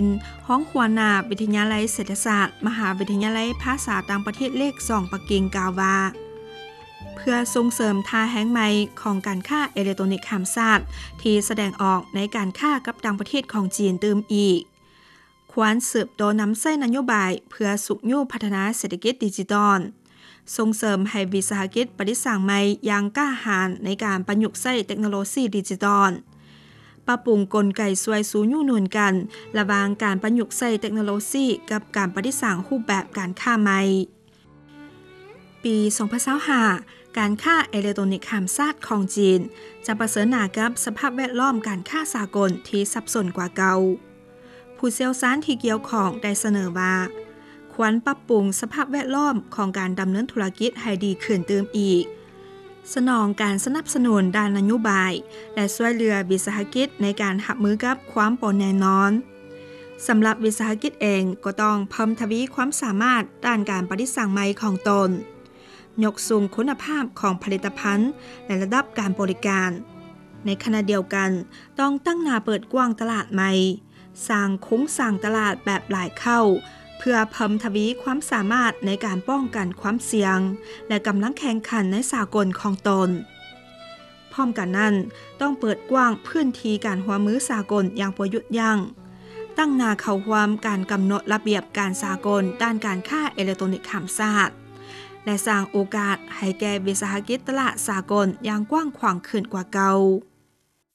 ນ ຮອງຫົວໜ້າວິທະຍາໄລເສດຖະສາດ ມະຫາວິທະຍາໄລພາສາຕ່າງປະເທດເລກສອງປັກກິ່ງ ກ່າວວ່າ ເພື່ອສົ່ງເສີມທ່າແຮງໃໝ່ຂອງການຄ້າເອເລັກໂຕຣນິກຂ້າມຊາດ ທີ່ສະແດງອອກໃນການຄ້າກັບຕ່າງປະເທດຂອງຈີນຕື່ມອີກ, ຄວນສືບຕໍ່ນຳໃຊ້ນະໂຍບາຍເພື່ອຊຸກຍູ້ພັດທະນາເສດຖະກິດດິຈິຕອນ, ສົ່ງເສີມໃຫ້ວິສາຫະກິດປະດິດສ້າງໃໝ່ຢ່າງກ້າຫານໃນການປະຍຸກໃຊ້ເຕັກໂນໂລຊີດິຈິຕອນ, ປັບປຸງກົນໄກຊ່ວຍຊູຍູ້ໜູນກັນລະຫວ່າງການປະຍຸກໃຊ້ເຕັກໂນໂລຊີກັບການປະດິດສ້າງຮູບແບບການຄ້າໃໝ່. ປີສອງພັນຊາວຫ້າ ການຄ້າເອເລັກໂຕຣນິກຂ້າມຊາດຂອງຈີນ ຈະປະເຊີນໜ້າກັບສະພາບແວດລ້ອມການຄ້າສາກົນທີ່ສັບສົນກວ່າເກົ່າ. ຜູ້ຊ່ຽວຊານທີ່ກ່ຽວຂ້ອງໄດ້ສະເໜີວ່າ ຄວນປັບປຸງສະພາບແວດລ້ອມຂອງການດຳເນີນທຸລະກິດໃຫ້ດີຂຶ້ນຕື່ມອີກ, ສະໜອງການສະໜັບສະໜູນດ້ານນະໂຍບາຍ ແລະ ຊ່ວຍເຫຼືອວິສາຫະກິດໃນການຮັບມືກັບຄວາມບໍ່ແນ່ນອນ. ສຳລັບວິສາຫະກິດເອງກໍຕ້ອງເພີ່ມທະວີຄວາມສາມາດດ້ານການປະດິດສ້າງໃໝ່ຂອງຕົນ, ຍົກສູງຄຸນນະພາບຂອງຜະລິດຕະພັນ ແລະ ລະດັບການບໍລິການ. ໃນຂະນະດຽວກັນ, ຕ້ອງຕັ້ງໜ້າເປີດກວ້າງຕະຫຼາດໃໝ່, ສ້າງໂຄງສ້າງຕະຫຼາດແບບຫຼາຍເຄົ້າ ເພື່ອເພີ່ມທະວີຄວາມສາມາດໃນການປ້ອງກັນຄວາມສ່ຽງ ແລະ ກຳລັງແຂ່ງຂັນໃນສາກົນຂອງຕົນ. ພ້ອມກັນນັ້ນ, ຕ້ອງເປີດກວ້າງພື້ນທີ່ການຮ່ວມມືສາກົນຢ່າງບໍ່ຢຸດຢັ້ງ, ຕັ້ງໜ້າເຂົ້າຮ່ວມການກຳນົດລະບຽບການສາກົນດ້ານການຄ້າເອເລັກໂຕຣນິກຂ້າມຊາດ ແລະ ສ້າງໂອກາດໃຫ້ແກ່ວິສາຫະກິດຕະຫຼາດສາກົນຢ່າງກວ້າງຂວາງຂຶ້ນກວ່າເກົ່າ.